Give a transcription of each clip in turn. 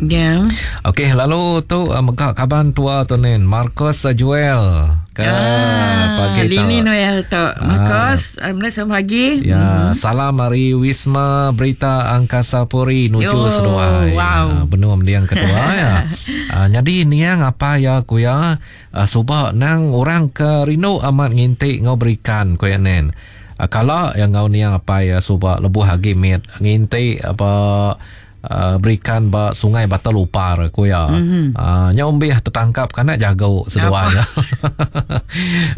Ya. Okey, lalu tu mega kaban tua tu nen Marcos Joel ke ah, pagi tu. Lini Noel tu. Marcos, ah, selamat pagi. Ya, salam hari Wisma Berita Angkasa Puri nuju Yo, seduai. wow. Ah, benua mendiang ketua ya. Ah, jadi niang apa ya ku ya ah, suba nang orang ke rindu amat ngintik ngau berikan ku ya nen. Ah, kala yang ngau niang apa ya suba lebuh agi mit ngintik apa berikan ba sungai Batu Lupar ku ya. Nya umbih tertangkap kana jago seduai ya.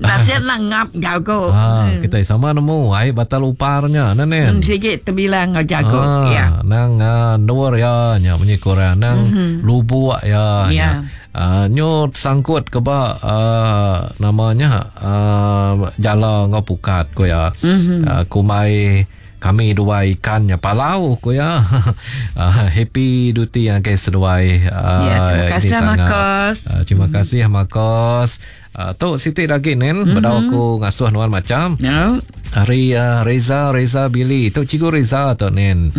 Nasib lah ngap jago. Ah, kita sama nemu ai Batu Luparnya nen. Sikit terbilang ngau jago. Ah, Ya. Nang nur ya nya bunyi kurang nang lubuk ya. Ya. Nyo sangkut ke ba namanya jala ngau pukat ku ya. Kumai kami dua ikannya palau ku ya. Happy duty yang ke seduai. Ya, terima ini kasih, sangat. Marcos. Terima kasih Marcos. Tu Siti lagi nen bedau aku ngasuh nuan macam. No. Hari Reza Billy tu cikgu Reza tu nen.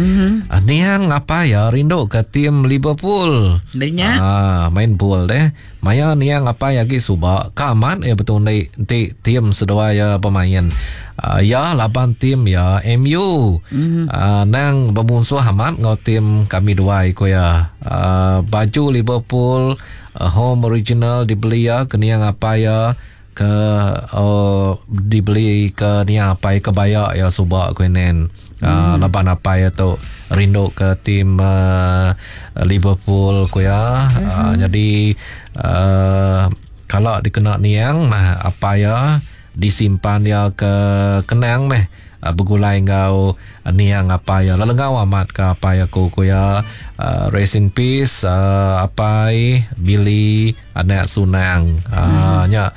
Niang apa ya rindu ke tim Liverpool. Dengar. Main bol deh. Maya niang apa ya gi suba kamat ya betul ni ti tim seduai ya pemain. Ya laban tim ya MU. Nang bermusuh amat ngau tim kami duai ko ya. Baju Liverpool home original dibeli ya ke niang apa ya ke dibeli ke niang apa ya kebaya ya suba ko nen. Laban apa ya tu rindu ke tim Liverpool ko ya. Jadi kalau dikena niang mah apa ya disimpan ya ke kenang meh begulai ngau niang apa ya lalu ngau amat ke apa ya ku ku ya rest in peace apai Billy anak Sunang nya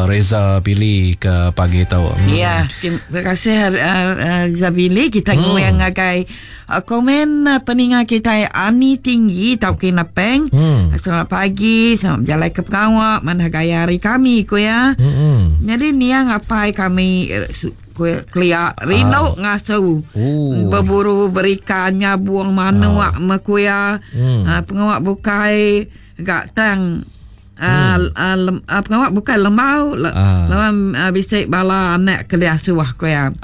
Reza Billy ke pagi tu. Ya, terima kasih Reza Billy. Kita ngoyang ngagai komen peninga kita Ani Tinggi tau ke Napeng. Selamat pagi, selamat berjalan ke pengawak mana gaya hari kami ku ya. Jadi niang apai kami kelia rindu ngasu. Berburu berikan nyabuang manuak mekuya. Pengawak bukai gak tang pengawak bukan lembau lawan bisik bala anak kelia suah ku ya.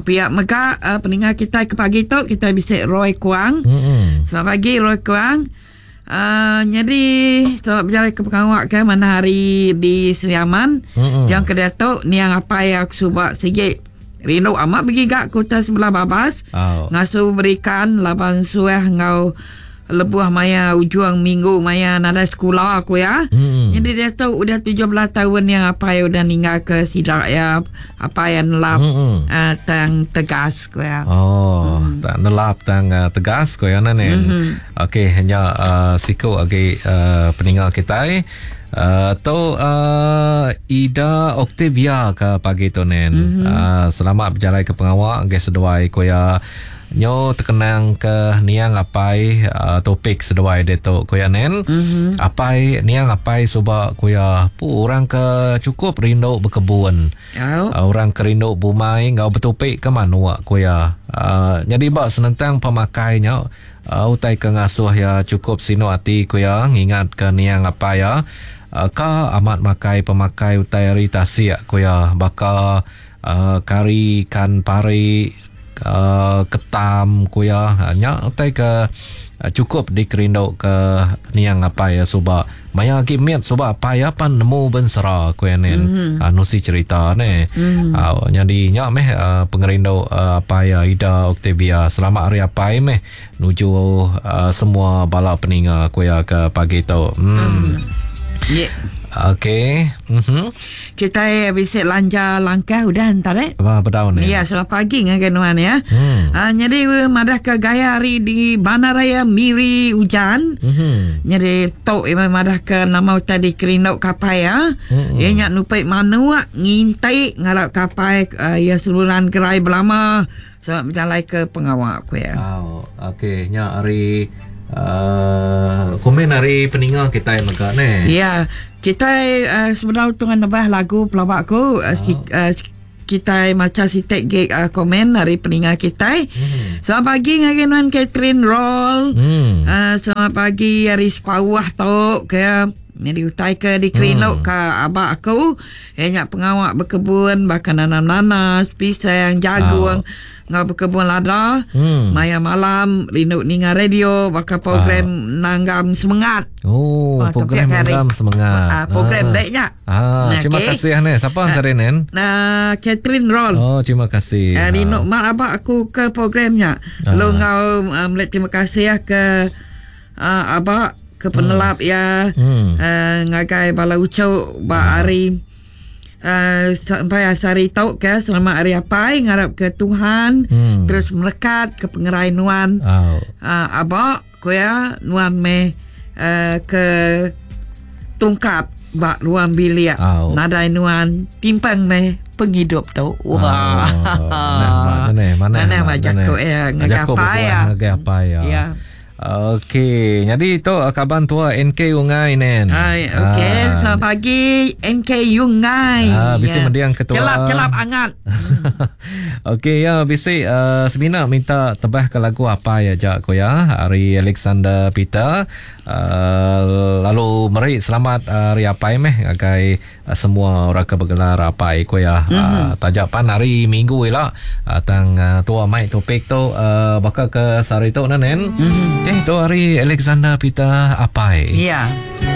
Pihak mega peninga kita ke pagi tu kita bisik Roy Kuang. Selamat pagi Roy Kuang. Jadi selamat berjalan ke pengawak ke mana hari di Sri Aman. Jangan ke Datuk niang apa yang aku subak sikit rindu amat pergi gak kota sebelah babas. Ngasu berikan laban suah ngau lebuh maya ujuang minggu maya nada sekolah aku ya. Jadi dia tu udah 17 tahun yang apa yang udah ninggal ke sidak ya, apa yang nelap tang tegas ku ya. Oh, tak nelap tang tegas ku ya nen. Okey, hanya siku lagi peninggal kita. Tu Ida Octavia ke pagi tu nen. Selamat berjalan ke pengawak ke seduai ku ya. Nyo terkenang ke niang apai topik seduai dia tu ku ya nen. Apai niang apai suba ku ya pu orang ke cukup rindu berkebun. Orang ke rindu bumai ngau bertopik ke manuk ku ya. Jadi bak senentang pemakainya utai ke ngasuh ya cukup sinu ati ku ya ngingat ke niang apai ya. Ka amat makai pemakai utai hari tasik ku ya baka kari ikan pari ketam ku ya nya utai ke cukup dikerindu ke niang apai ya suba maya agi mit suba apai ya pan nemu bensera ku ya nen. Nusi cerita ne. Jadi nya meh pengerindu apai ya Ida Octavia. Selamat hari apai meh nuju semua bala peninga ku ya ke pagi tu. Yeah. Okey. Kita bisa lanja langkah udah entar eh. Apa bedau ni? Ya, selamat pagi dengan nuan ya. Jadi madah ke gaya hari di Bandaraya Miri hujan. Jadi tok madah ke nama tadi kerinduk kapai ya. Ia nyak nupik manuak ngintai ngarap kapai ya seluruhan gerai belama. Selamat berjalan ke pengawak aku ya. Oh, okey, nyak hari komen hari peninga kita yang megak ni. Ya, kita sebenarnya tu kan nebah lagu pelawak aku. Kitai macha siti gig uh, komen ari peninga kitai. Mm. Selamat pagi ngagai nuan Catherine Roll. Mm. Uh, selamat pagi ari Sepauh tu ke nyadi utai ke dikerindu mm. ke abak aku. Iya nya pengawa bekebun baka nanam nanas, pisang, jagung. Oh. Enggau bekebun lada. Hmm. Maya malam rindu ninga radio baka program ah. nanggam semengat. Oh, ah, program nanggam semengat. Ah, program ah. dek nya. Ah, nah, terima okay. kasih ne. Siapa ah, Nen? Nah, Catherine Roll. Oh, terima kasih. Uh, rindu ah. mak abak aku ke programnya. Ah. Lalu ngau uh, melihat terima kasih ke uh, abak ke penelap hmm. ya hmm. Uh, ngagai bala ucuk ba hmm. hari Uh, sampai asari tau ke selamat hari apai ngarap ke Tuhan hmm. terus merekat ke pengerai nuan oh. uh, abak ku iya nuan meh uh, ke tungkap ba ruang bilik oh. nadai nuan timpang meh pengidup tu wah oh. mana mana mana mana jaku ya ngagai apai ya ngagai apai ya ya Okey, jadi tu kaban tua NK Ungai nen. Hai, okey, ah. selamat pagi NK Ungai. Ah, bisi ya. mendiang ketua. Celap-celap angat. Okey ya bisi uh, semina minta tebah ke lagu apa ya jak ko ya hari Alexander Peter uh, lalu meri selamat hari apai meh ngagai uh, semua orang ke bergelar apai ko ya mm-hmm. uh, tajak pan hari minggu ila uh, tang uh, tua mai topik tu uh, baka ke sehari tu nen mm-hmm. eh tu hari Alexander Peter apai ya yeah.